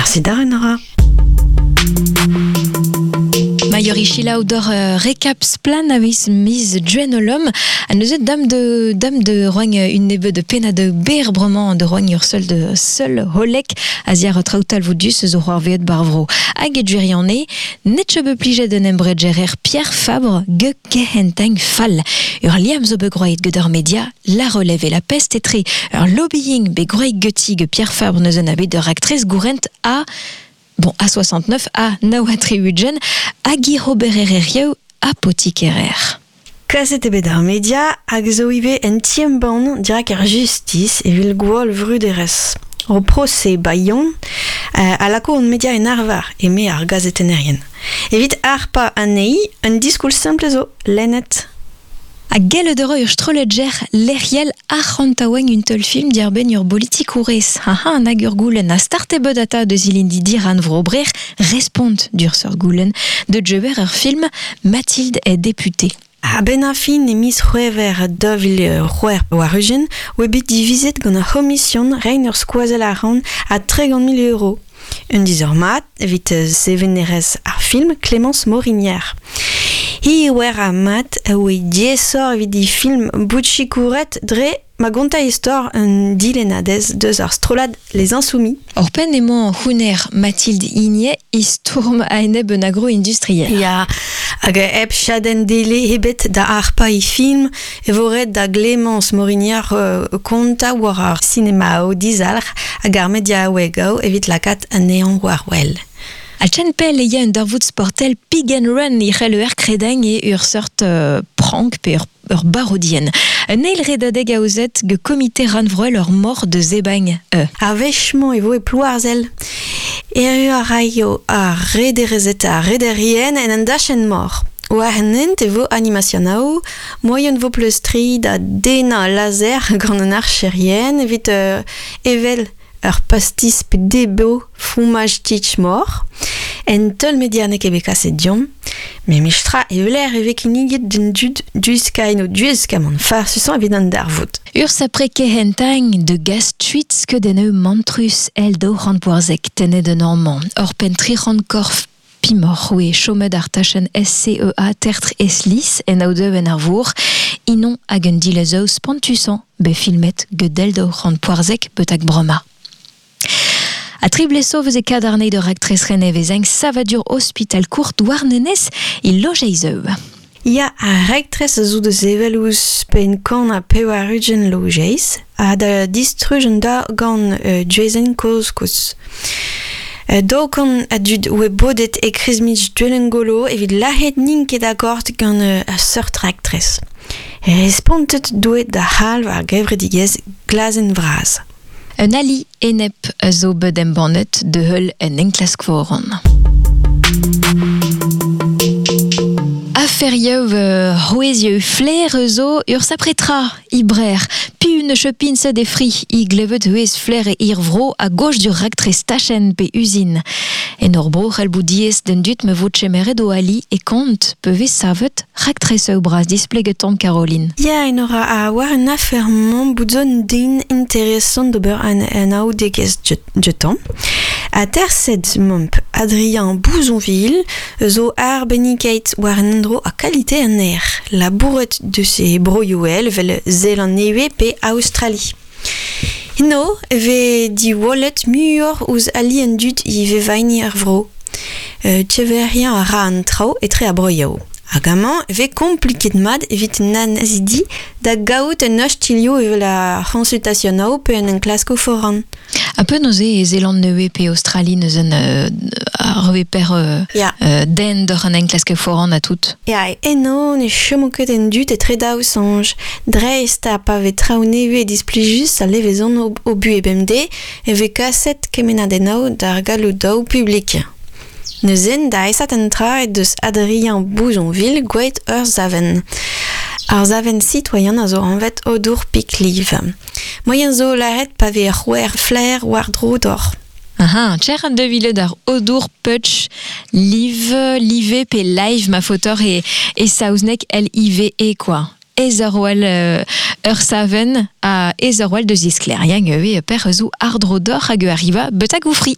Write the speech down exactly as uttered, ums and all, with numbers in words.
Merci da Nora. Maior selaou dor uh, recap splan a viz miz duenolom a neuze dam de dam de roagn un nebe de pena de ber bremañ de roagn ur seul de seul holek a ziar traoutal voudus zo c'hoar veet barvro. Hag e duiriane, netche be plijet den embregerer Pierre Fabre ge kehenteng fall. Ur liam zo be groet get ur media, la relève et la peste etre ur lobbying be groet geti ge Pierre Fabre neuze na bet ur actrice gourent a Bon, A soixante-neuf, A naou ha tri-ugent, hag i obererezhioù apotikerer. Kaset eo bet ar media hag zo ivez en ti-embann dirak ar justice evit gwall vruderezh. Ur prosez Bayon euh, a lako an media en arvar eme ar gazetennerien. Evit harpañ anezhi, un diskoulm simpl zo, lennet. Ha gellet eo ur strollegger lec'hiel arc'hantaoueñ un teulfilm diàr-benn ur bolitikourez. Ha ha nag ur goulenn a start eo bet ata deus ilindi diran vro brer respont d'ur seurt goulenn de djeber ur film Mathilde est députée. A-benn ar fin e miz C'hwevrer daou vil c'hwec'h war-ugent oa bet divizet gant ar c'homision reiñ ur skoazell arc'hant a tregont mil euro. Un dizor mat evit sevenerez ar film Clémence Morinière. Hi oar a mat oe diaesoc'h evit he film bout sikouret dre ma gonta istor un dilennadez deus ar strollad Les Insoumis. Ur penn emañ houner Mathilde Igney e stourm a-enep un agro-industriel. Ya, hag hep chadenn dele ebet da harpañ he film e vo ret da Clémence Morinière euh, kontañ war ar sinemaoù dizalc'h hag ar mediaouegoù evit lakaat anezhañ war wel. A chen pell e ya un darvoud sportel Pig and Run e c'hell ur kredañ e ur seurt euh, prank pe ur, ur barodien. Un eil redadeg aozet ge komite rannvroel ur mor de zebagn e. Ar wech-mañ e vo e Plouarzel. Erru a raio ar rederezed ha rederien en un dachenn mor. War an hent e vo animasionoù, moaien vo pleustriñ da dennañ lazer gant an archerien evit euh, evel ur pastis pe debriñ fromaj tich mor. En teul media n'eo ket bet kaset deomp, met memestra e weler e vez kinniget d'an dud diwiskañ o diwiskamant farsusañ evit an darvoud. Ur sapre kehentañ de gas tuit skeudennoù mantrus el daou c'hant poarzek tennet d'un amañ. Ur penn tri c'hant korf pimoc'h oe chomet ar tachenn S C E A tertre eslis en aodeu en ar vour, inon hag un dilezoù spontusañ bet filmet gedel daou c'hant poarzek betak bremañ. A tri bleso vez e kadarnei de raktres renevezeng savadur hospital kourt Douarnenez e lojeizeu. Ya, ar raktres a zo da sevel ouzh penn kant ha pevar-ugent lojeiz ha da distruj an da gant euh, duezenn kozh-kozh. Euh, daou kant a dud oa bodet e kreiz Duelengolo evit lâret n'int ket akord gant euh, ar seurt raktres. Respontet doe da c'halv ar gevredigezh Glazenn Vras. Un ali enep a zo bet embannet de heul en enklask foran. Aferioù euh, c'hwezhioù flair zo ur sapretra ibrer. Pi une chepin se de fri i glevet huez flair e ir vro a gauche du raktres tachen pe usine. En ur bro c'hell bout diaes d'an dud me vo tchemeret o ali e kont peve savet raktres eo bras displeget tamm Caroline. Ya, en ora a war un afer-mañ bout zo un den interesant d'ober an, an aoudegezh dioutañ. A tersed momp Adrien Bouzonville zo arbennikeit war an endro a kalite an aer. Labouret deus e broioù vel Zeland-Nevez pe Australie. Eno e vez diwallet muioc'h ouzh ali an dud e vevaini ar vro. Euh, Tcheverien a ra an traoù etre ar broioù. Hag amañ e vez kompliket mat evit annezidi da gaout un ostilhoù evel ar c'honsultasionoù pe un enklaskoù foran. Un peu neuze e Zeland-Nevez pe Australie neuze un euh, ar reve per euh, Ya. euh, den d'oc'h an enklask foran a tout. Ya, eno ne chomo ket an dud etre daou soñj. Dreist ha pa vez traoù nevez displijus a levezon o, o buhez bemdez e vez kaset kemennadennoù d'ar galloudoù publik. Neuze da aesat an tra e deus Adrien Bouzonville gwelet ur savenn. Ar savenn sitoaien a zo anvet Odour Pikliv. Moaien zo lâret pa vez c'hwer flaer war dro d'or. Aha, tcher an devile d'ar Odour Putch Live, Live pe Live ma fotor e, e saozneg L I V E quoi. Ezerwell euh, ur savenn a Ezerwell deus iskleriañ e per zo ardro d'or hag arriva betag oufri.